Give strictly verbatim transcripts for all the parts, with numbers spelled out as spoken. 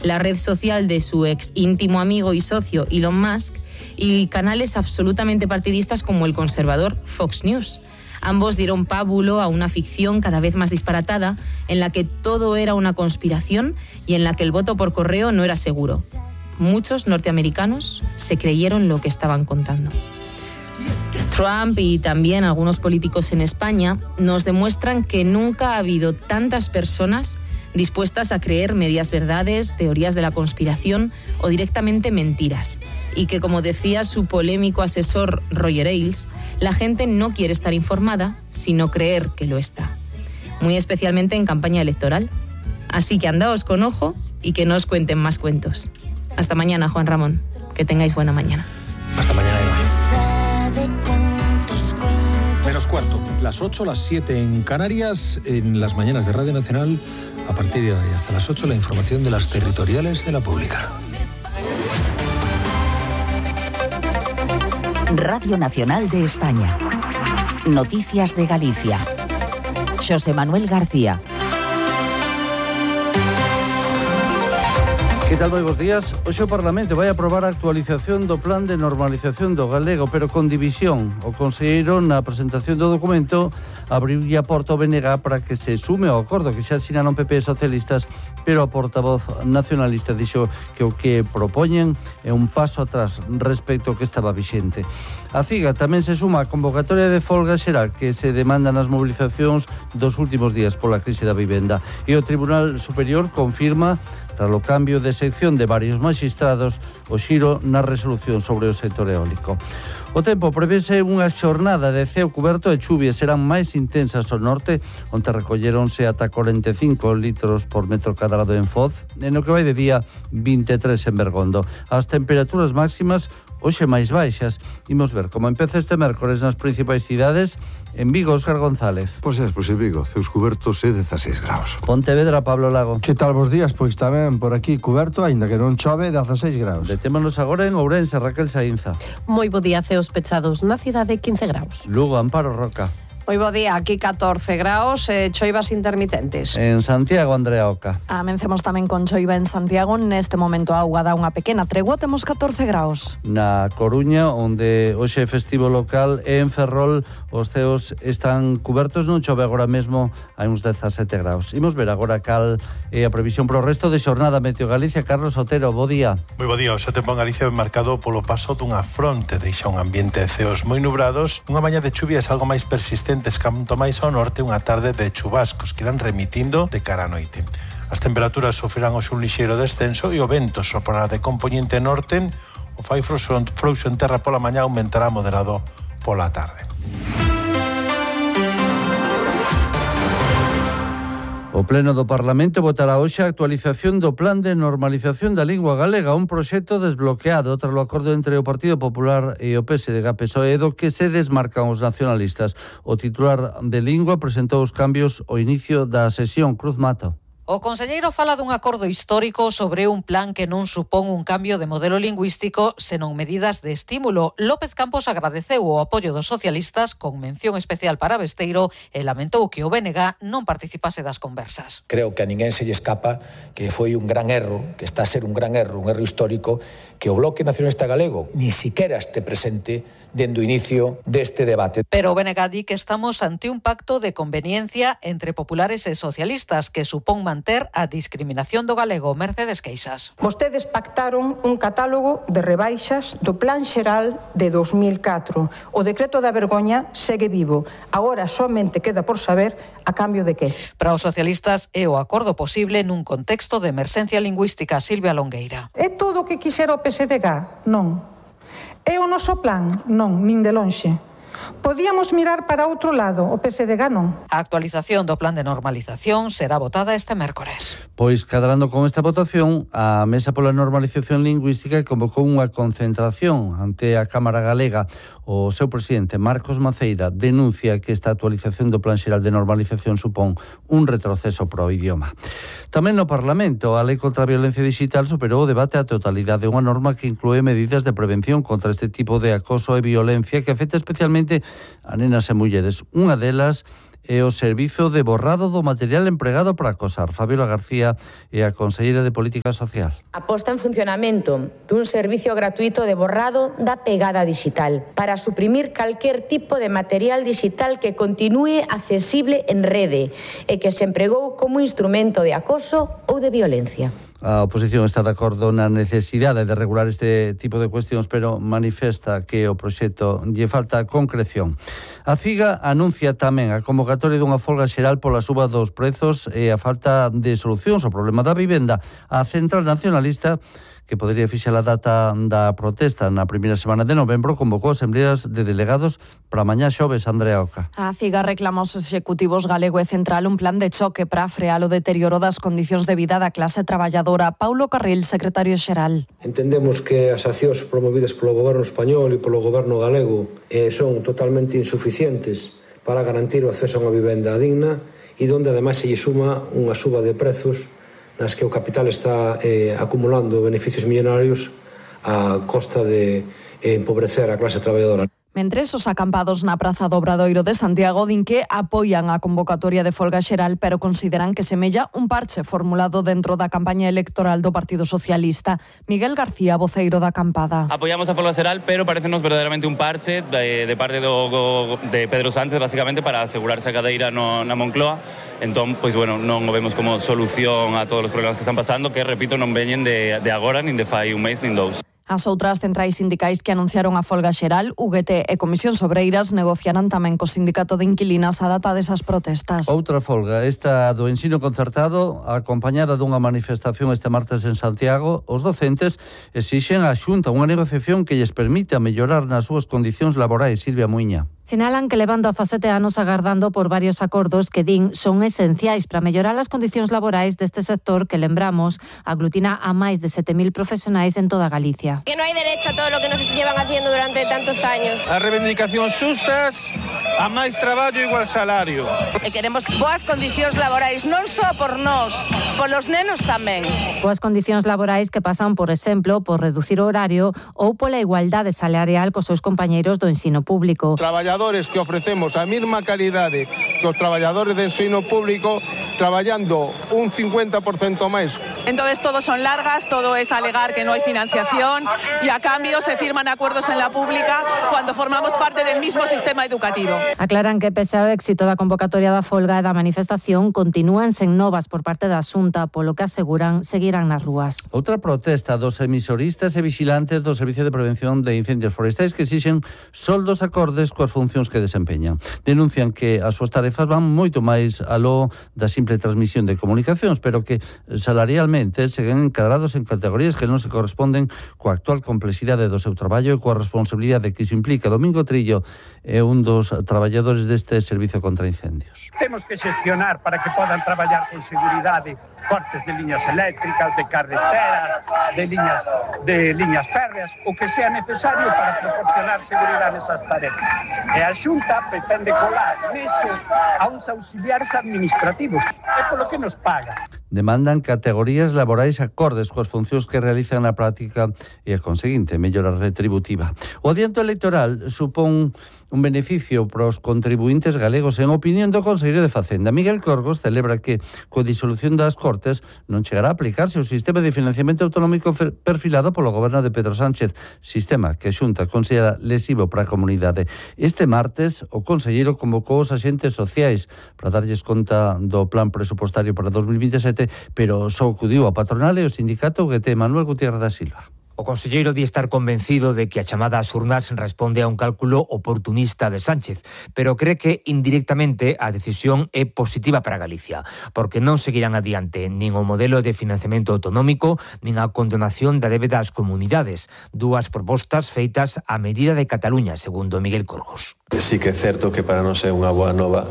la red social de su ex íntimo amigo y socio Elon Musk, y canales absolutamente partidistas como el conservador Fox News. Ambos dieron pábulo a una ficción cada vez más disparatada, en la que todo era una conspiración y en la que el voto por correo no era seguro. Muchos norteamericanos se creyeron lo que estaban contando. Trump y también algunos políticos en España nos demuestran que nunca ha habido tantas personas dispuestas a creer medias verdades, teorías de la conspiración o directamente mentiras. Y que, como decía su polémico asesor Roger Ailes, la gente no quiere estar informada, sino creer que lo está. Muy especialmente en campaña electoral. Así que andaos con ojo y que no os cuenten más cuentos. Hasta mañana, Juan Ramón. Que tengáis buena mañana. Hasta mañana, Eva. Menos cuarto, las ocho, las siete en Canarias, en las mañanas de Radio Nacional. A partir de hoy hasta las ocho, la información de las territoriales de la pública. Radio Nacional de España. Noticias de Galicia. Xosé Manuel García. Que tal, moi bons días? Hoxe o Parlamento vai aprobar a actualización do Plan de Normalización do Galego, pero con división. O conselleiro, na presentación do documento, abriu a porta ao B N G para que se sume ao acordo que xa asinaron P P e socialistas, pero a portavoz nacionalista dixo que o que propoñen é un paso atrás respecto ao que estaba vixente. A CIGA tamén se suma a convocatoria de folga xeral que se demanda nas mobilizacións dos últimos días pola crise da vivenda. E o Tribunal Superior confirma, tras o cambio de sección de varios magistrados, o xiro na resolución sobre o sector eólico. O tempo prevese unha xornada de ceo cuberto e chuvias serán máis intensas ao norte, onde recolleronse ata corenta e cinco litros por metro cadrado en Foz, e no que vai de día vinte e tres en Bergondo. As temperaturas máximas hoxe máis baixas. Imos ver como empeza este mércores nas principais cidades. En Vigo, Óscar González. Pois é, pois en Vigo, ceus cubertos e dezaseis graus. Pontevedra, Pablo Lago. Que tal vos días? Pois tamén por aquí cuberto, aínda que non chove, dezaseis graus. Detémonos agora en Ourense, Raquel Saínza. Moi bo día, ceos pechados na cidade, quince graus. Lugo, Amparo Roca. Moi bo día, aquí catorce graus, eh, choivas intermitentes. En Santiago, Andrea Oca. Amencemos tamén con choiva en Santiago. Neste momento a auga dá unha pequena tregua, temos catorce graus. Na Coruña, onde hoxe é festivo local, e en Ferrol os ceos están cubertos, non chove agora mesmo, hai uns dezasete graus. Imos ver agora cal é a previsión pro resto de xornada. Meteo Galicia, Carlos Otero, bo día. Moi bo día, o seu tempo en Galicia é marcado polo paso dunha fronte, deixa un ambiente de ceos moi nubrados, unha mañá de chuvias algo máis persistente, canto máis ao norte, unha tarde de chubascos que irán remitindo de cara a noite. As temperaturas sofrerán hoxe un lixeiro descenso e o vento soprará de compoñente norte, o fai frouxo en terra pola mañá, aumentará moderado pola tarde. O Pleno do Parlamento votará hoxe a actualización do Plan de Normalización da Lingua Galega, un proxecto desbloqueado tras o acordo entre o Partido Popular e o P S D G P S O E, do que se desmarcan os nacionalistas. O titular de Lingua presentou os cambios ao inicio da sesión. Cruz Mato. O conselleiro fala dun acordo histórico sobre un plan que non supón un cambio de modelo lingüístico, senón medidas de estímulo. López Campos agradeceu o apoio dos socialistas con mención especial para Besteiro e lamentou que o B N G non participase das conversas. Creo que a ninguén se lle escapa que foi un gran erro, que está a ser un gran erro, un erro histórico, que o Bloque Nacionalista Galego ni siquiera este presente dende o inicio deste debate. Pero o B N G di que estamos ante un pacto de conveniencia entre populares e socialistas que supón manter a discriminación do galego. Mercedes Queixas. Vostedes pactaron un catálogo de rebaixas do Plan Xeral de dos mil catro. O decreto da vergoña segue vivo. Agora somente queda por saber a cambio de que. Para os socialistas é o acordo posible nun contexto de emerxencia lingüística. Silvia Longueira. É todo o que quixera o P S D G? Non. É o noso plan? Non, nin de lonxe. Podíamos mirar para outro lado, o P S D G non. A actualización do plan de normalización será votada este mércores. Pois, cadrando con esta votación, a Mesa pola Normalización Lingüística convocou unha concentración ante a Cámara Galega. O seu presidente, Marcos Maceira, denuncia que esta actualización do Plan Xeral de Normalización supón un retroceso pro idioma. Tamén no Parlamento, a Lei contra a Violencia Digital superou o debate a totalidade, unha norma que inclúe medidas de prevención contra este tipo de acoso e violencia que afecta especialmente a nenas e mulleres. Unha delas e o servizo de borrado do material empregado para acosar. Fabiola García é a conselleira de Política Social. A posta en funcionamento dun servicio gratuito de borrado da pegada digital para suprimir calquer tipo de material digital que continúe accesible en rede e que se empregou como instrumento de acoso ou de violencia. A oposición está de acordo na necesidade de regular este tipo de cuestións, pero manifesta que o proxecto lle falta concreción. A CIGA anuncia tamén a convocatoria dunha folga xeral pola suba dos prezos e a falta de solucións ao problema da vivenda. A Central Nacionalista, que podería fixar a data da protesta na primeira semana de novembro, convocou asembleas de delegados para mañá xoves. Andrea Oca. A CIGA reclama aos executivos galego e central un plan de choque para frear o deterioro das condicións de vida da clase traballadora. Paulo Carril, secretario xeral. Entendemos que as accións promovidas polo goberno español e polo goberno galego eh, son totalmente insuficientes para garantir o acceso a unha vivenda digna e donde ademais se lle suma unha suba de prezos nas que o capital está eh, acumulando beneficios millonarios a costa de eh, empobrecer a clase traballadora. Mentres, os acampados na Praza do Obradoiro de Santiago din que apoian a convocatoria de folga xeral, pero consideran que semella un parche formulado dentro da campaña electoral do Partido Socialista. Miguel García, voceiro da acampada. Apoiamos a folga xeral, pero parecenos verdadeiramente un parche de, de parte do, de Pedro Sánchez, basicamente, para asegurarse a cadeira no, na Moncloa. Entón, pois, bueno, non o vemos como solución a todos os problemas que están pasando, que, repito, non veñen de, de agora, nin de fai un mês, nin dous. As outras centrais sindicais que anunciaron a folga xeral, U G T e Comisións Obreiras, negociarán tamén co Sindicato de Inquilinas a data desas protestas. Outra folga, esta do ensino concertado, acompañada dunha manifestación este martes en Santiago. Os docentes exixen á Xunta unha negociación que lles permita mellorar nas súas condicións laborais. Silvia Muiña. Sinalan que levan dezasete anos agardando por varios acordos que din son esenciais para mellorar as condicións laborais deste sector que, lembramos, aglutina a máis de sete mil profesionais en toda Galicia. Que no hai derecho a todo lo que nos llevan haciendo durante tantos años. A reivindicacións xustas, a máis traballo e igual salario. E queremos boas condicións laborais, non só por nós, polos nenos tamén. Boas condicións laborais que pasan, por exemplo, por reducir o horario ou pola igualdade salarial cos seus compañeiros do ensino público. Traballadores que ofrecemos a mesma calidade que os traballadores de ensino público, traballando un cincuenta por ciento máis. Entonces todo son largas, todo es alegar que no hay financiación y a cambio se firman acuerdos en la pública cuando formamos parte del mismo sistema educativo. Aclaran que pese ao éxito da convocatoria da folga e da manifestación, continúan sen novas por parte da Xunta, polo que aseguran seguirán nas rúas. Outra protesta dos emisoristas e vigilantes do Servicio de Prevención de Incendios Forestais que exixen soldos acordes coas funcións que desempeñan. Denuncian que as súas tarefas van moito máis aló da simple transmisión de comunicacións, pero que salarialmente seguen encadrados en categorías que non se corresponden coa actual complexidade do seu traballo e coa responsabilidade que iso implica. Domingo Trillo é un dos traballadores deste servicio contra incendios. Temos que xestionar para que podan traballar con seguridade cortes de liñas eléctricas, de carreteras, de liñas de liñas férreas, o que sea necesario para proporcionar seguridade nesas tarefas. E a Xunta pretende colar niso a uns auxiliares administrativos, é polo que nos paga. Demandan categorías laborais acordes coas funcións que realizan na práctica e a conseguinte mellora retributiva. O adianto electoral supón un beneficio para os contribuintes galegos. En opinión do Conselleiro de Facenda, Miguel Corgos, celebra que coa disolución das Cortes non chegará a aplicarse o sistema de financiamento autonómico perfilado polo goberno de Pedro Sánchez, sistema que a Xunta considera lesivo para a comunidade. Este martes, o Conselleiro convocou os axentes sociais para darlles conta do plan presupostario para dos mil vinte e sete, pero só acudiu a patronal e o sindicato U G T. Manuel Gutiérrez da Silva. O conselleiro di estar convencido de que a chamada ás urnas responde a un cálculo oportunista de Sánchez, pero cree que indirectamente a decisión é positiva para Galicia, porque non seguirán adiante nin o modelo de financiamento autonómico nin a condonación da débeda ás comunidades, dúas propostas feitas a medida de Cataluña, segundo Miguel Corgos. Sí que é certo que para non ser unha boa nova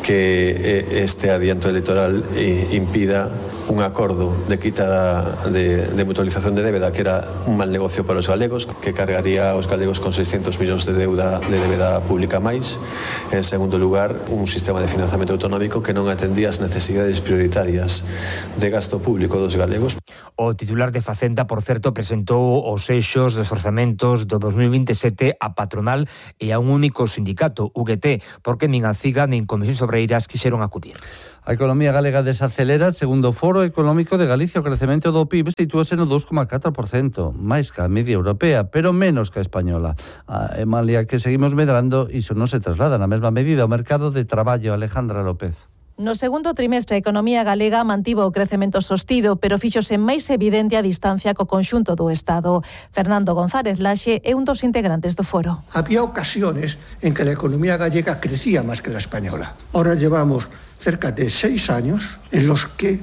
que este adianto electoral impida un acordo de quita de, de mutualización de débeda que era un mal negocio para os galegos, que cargaría aos galegos con seiscentos millóns de deuda de débeda pública máis. En segundo lugar, un sistema de financiamento autonómico que non atendía as necesidades prioritarias de gasto público dos galegos. O titular de Facenda, por certo, presentou os eixos dos orzamentos do dos mil vinte e sete a patronal e a un único sindicato, U G T, porque nin a CIGA nin Comisións Obreiras quixeron acudir. A economía galega desacelera, segundo o Foro Económico de Galicia, o crecemento do P I B sitúase no dous coma catro por cento, máis que a media europea, pero menos que a española. A Emalia, que seguimos medrando, iso non se traslada na mesma medida ao mercado de traballo. Alejandra López. No segundo trimestre, a economía galega mantivo o crecemento sostido, pero fíxose máis evidente a distancia co conxunto do Estado. Fernando González Laxe é un dos integrantes do foro. Había ocasiones en que la economía gallega crecía máis que la española. Ahora llevamos cerca de seis años en los que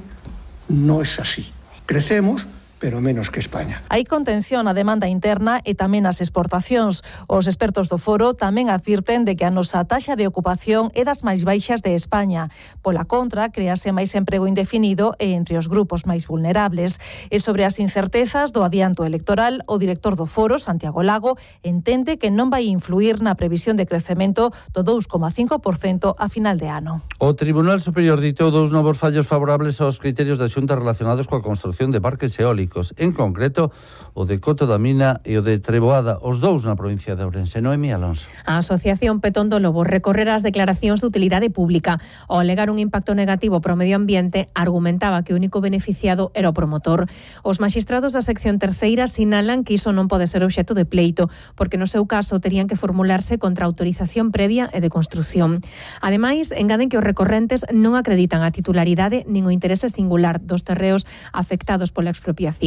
no es así. Crecemos, pero menos que España. Hai contención á demanda interna e tamén ás exportacións. Os expertos do foro tamén advirten de que a nosa taxa de ocupación é das máis baixas de España. Pola contra, crease máis emprego indefinido e entre os grupos máis vulnerables. E sobre as incertezas do adianto electoral, o director do foro, Santiago Lago, entende que non vai influir na previsión de crecemento do dous coma cinco por cento a final de ano. O Tribunal Superior ditou dous novos fallos favorables aos criterios da Xunta relacionados coa construción de parques eólicos. En concreto, o de Coto da Mina e o de Treboada, os dous na provincia de Ourense. Noemí Alonso. A Asociación Petón do Lobo recorrera as declaracións de utilidade pública. Ao alegar un impacto negativo para o medio ambiente, argumentaba que o único beneficiado era o promotor. Os maxistrados da sección terceira sinalan que iso non pode ser obxecto de pleito, porque no seu caso terían que formularse contra autorización previa e de construción. Ademais, engaden que os recorrentes non acreditan a titularidade nin o interese singular dos terreos afectados pola expropiación.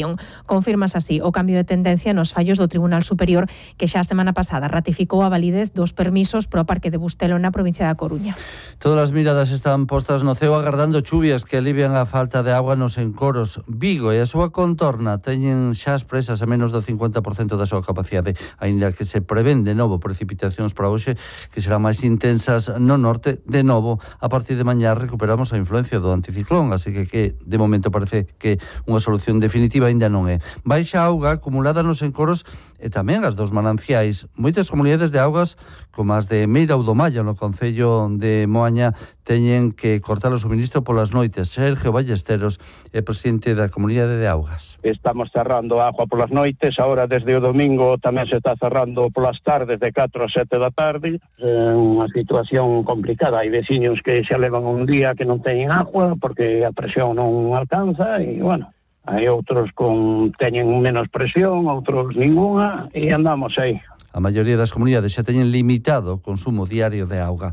Confirmas así o cambio de tendencia nos fallos do Tribunal Superior, que xa a semana pasada ratificou a validez dos permisos pro Parque de Bustelo na provincia da Coruña. Todas as miradas están postas no ceo agardando chuvias que alivian a falta de agua nos encoros. Vigo e a súa contorna teñen xa as presas a menos do cincuenta por cento da súa capacidade, aínda que se prevén de novo precipitacións para hoxe que serán máis intensas no norte. De novo, a partir de mañá recuperamos a influencia do anticiclón, así que, que de momento parece que unha solución definitiva aínda non é. Baixa auga acumulada nos encoros e tamén as dos mananciais. Moitas comunidades de augas, como as de Meira ou do Malla, no concello de Moaña, teñen que cortar o suministro polas noites. Sergio Ballesteros é presidente da comunidade de augas. Estamos cerrando a agua polas noites, agora desde o domingo tamén se está cerrando polas tardes de catro a sete da tarde. É unha situación complicada, hai veciños que xa levan un día que non teñen agua porque a presión non alcanza e, bueno, hai outros con teñen menos presión, outros ningunha e andamos aí. A maioría das comunidades xa teñen limitado o consumo diario de auga.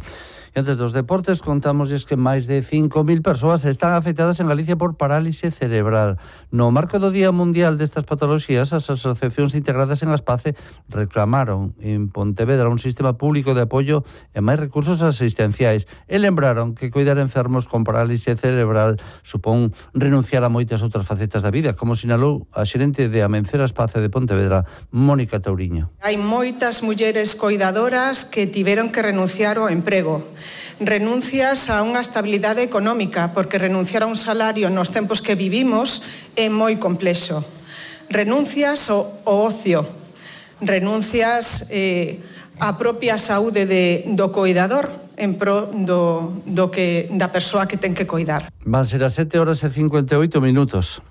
E antes dos deportes, contámosles que máis de cinco mil persoas están afectadas en Galicia por parálise cerebral. No marco do Día Mundial destas patoloxías, as asociacións integradas en Aspace reclamaron en Pontevedra un sistema público de apoio e máis recursos asistenciais e lembraron que coidar enfermos con parálise cerebral supón renunciar a moitas outras facetas da vida, como sinalou a xerente de Amencer Aspace de Pontevedra, Mónica Touriño. Hai moitas mulleres coidadoras que tiveron que renunciar ao emprego. Renuncias a unha estabilidade económica, porque renunciar a un salario nos tempos que vivimos é moi complexo. Renuncias ao, ao ocio, renuncias eh, á propia saúde de, do coidador en pro do, do que, da persoa que ten que coidar. Van ser as sete horas e cincuenta e oito minutos.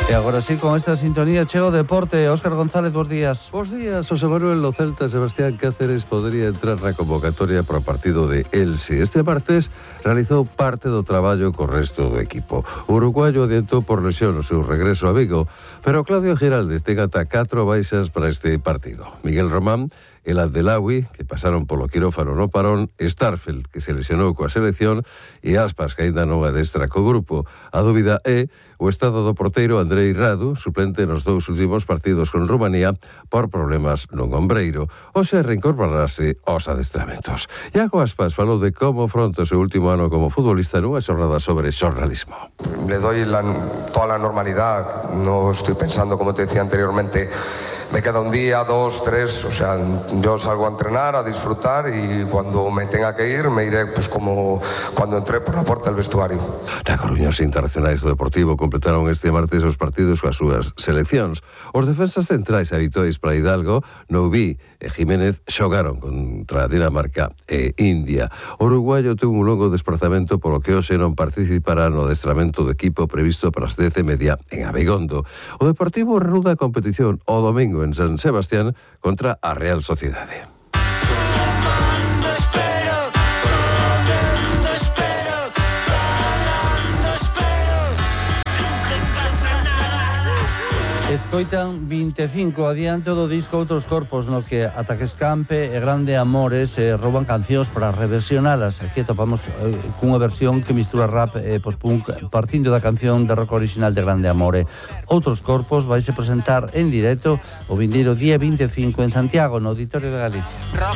E agora sí, con esta sintonía chega o deporte. Óscar González, bons días. Bos días, José Manuel. O Celta Sebastián Cáceres podería entrar na convocatoria para o partido de Elche. Este martes realizou parte do traballo co resto do equipo. O uruguayo adiantou por lesión o seu regreso a Vigo, pero Claudio Giralde ten ata catro baixas para este partido. Miguel Román, el Abdelawi, que pasaron polo quirófano no parón, Starfelt, que se lesionou coa selección, e Aspas, que aínda non adestra co grupo. A dúbida é o estado do porteiro Andrei Radu, suplente nos dous últimos partidos con Rumanía por problemas non ombreiro. Hoxe reincorporarase aos adestramentos. Iago Aspas falou de como afronta o seu último ano como futbolista nunha xornada sobre xornalismo. Le doy la, toda la normalidad, no estoy pensando, como te decía anteriormente, me queda un día, dos, tres, o sea, Yo salgo a entrenar, a disfrutar y cuando me tenga que ir me iré pues como cuando entré por la puerta del vestuario. Na Coruña, os internacionais do Deportivo completaron este martes os partidos coas súas seleccións. Os defensas centrais habituais para Hidalgo, Noubí e Jiménez xogaron contra Dinamarca e India. O uruguayo tuvo un longo desplazamento polo que hoxe non participará no adestramento do equipo previsto para as dez e media en Abegondo. O Deportivo reanuda a competición o domingo en San Sebastián contra a Real Sociedade. Escoitan vinte e cinco adiante do disco Outros Corpos, no que Ataques Campe e Grande Amores eh, rouban cancións para reversionalas. Aquí topamos eh, cunha versión que mistura rap e post-punk partindo da canción de rock original de Grande Amore. Outros Corpos vaise presentar en directo o vindeiro día vinte e cinco en Santiago, no Auditorio de Galicia.